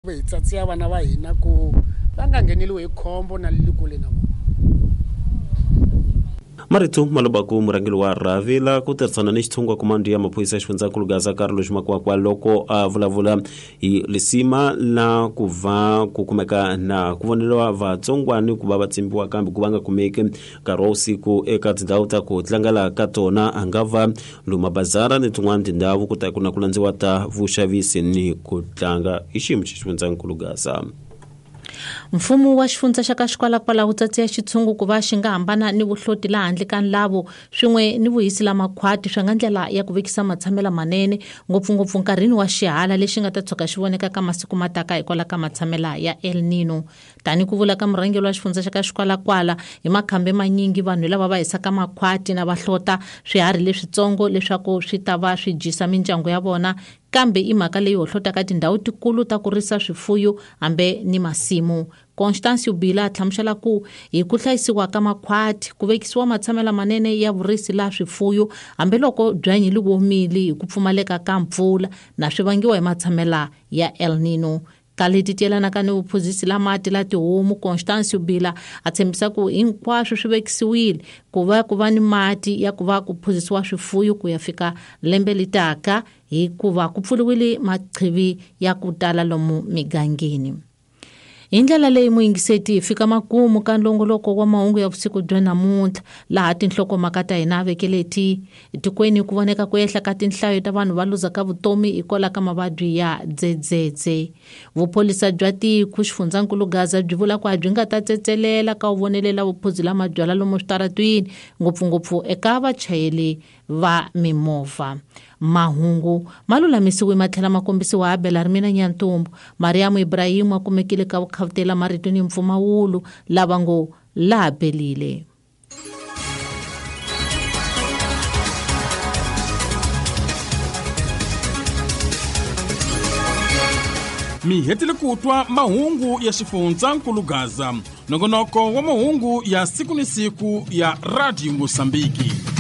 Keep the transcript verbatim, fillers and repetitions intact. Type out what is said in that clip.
Hi tsatsiya vana va hina ku va nga ngheneliwi hi khombo na le kule na vona. Marito Malobaku, murhangeri wa rhavi la ku tirhisana ni xitshungu komando ya maphorisa xifundzankulu Gaza Carlos Makwakwa loko a vulavula hi lisima la ku va ku kumeka na ku voneriwa vatsongwani ku va va tsimbiwa kambe ku va nga kumeki nkarhi wa vusiku eka tindhawu ta ku tlangela ka tona, a nga va luma bazara ni tin'wana tindhawu ku ta ku na ku landziwa ta vuxavisi ni ku tlanga hi xiyimo xa xifundzankulu Gaza. Mfumo wa xifundza xa ka Xikwalakwala wu tsatsiya xitshungu ku va xi nga hambana ni vuhloti laha handle ka nlavo swin'we ni vuhisi la makhwati swa nga ndlela ya ku vekisa matshamela manene ngopfungopfu nkarhini wa xihala lexi nga ta tshuka xi voneka ka masiku mataka hikwalaho ka matshamela ya El Nino. Tani ku vula ka murhangeri wa xifundza xa ka Xikwalakwala, hi makhambe manyingi vanhu lava va hisaka makhwati na va hlota swiharhi leswitsongo leswaku swi ta va swi dyisa mindyangu ya vona, kambe i mhaka leyi hohlotaka tindhawu tikulu ta ku risa swifuyo hambe ni masimu. Constance Bila a hlamusela ku hi ku hlayisiwa ka makhwati ku vekisiwa matshamela manene ya vurisi la swifuyo hambiloko byanyi li womile hi ku pfumaleka ka mpfula na swi vangiwa hi matshamela ya El Nino. Ka leti ti yelanaka ni vuphuzisi la mati la tihomu, Constance Bila a tshembisa ku hinkwaswo swi vekisiwile ku va ku va ni mati ya ku va ku phuzisiwa swifuyo ku ya fika lembe litaka hikuva ku pfuriwile maqhivi ya ku tala lomu migangeni. Hi ndlela leyi muyingiseti hi fika makumu ka nlongoloko wa mahungu ya vusiku bya namuntlha, laha tinhlokomhaka ta hina vekeleti etikweni ku voneka ku ehla ka tinhlayo ta vanhu va luzaka vutomi hikwalaho ka mavabyi ya dzedzedze. Vupholisa bya tiko xifundzankulu Gaza byi vula ku a byi nga ta tsetselela ka wu vonelela vuphuzi la mabyalwa lomu switaratwini ngopfungopfu eka vachayeri va mimovha. Mahungu ma lulamisiwe ma tlhela ma kombisiwa ha Belarmina Nyantumbu. Mariam Ibrahim a kumekile ka vukhavutela marito ni mpfumawulo lava ngo laha pelile. Mi hetile ku twa mahungu ya xifundzankulu Gaza, nongonoko wa mahungu ya siku ni siku ya Radio Mosambiki.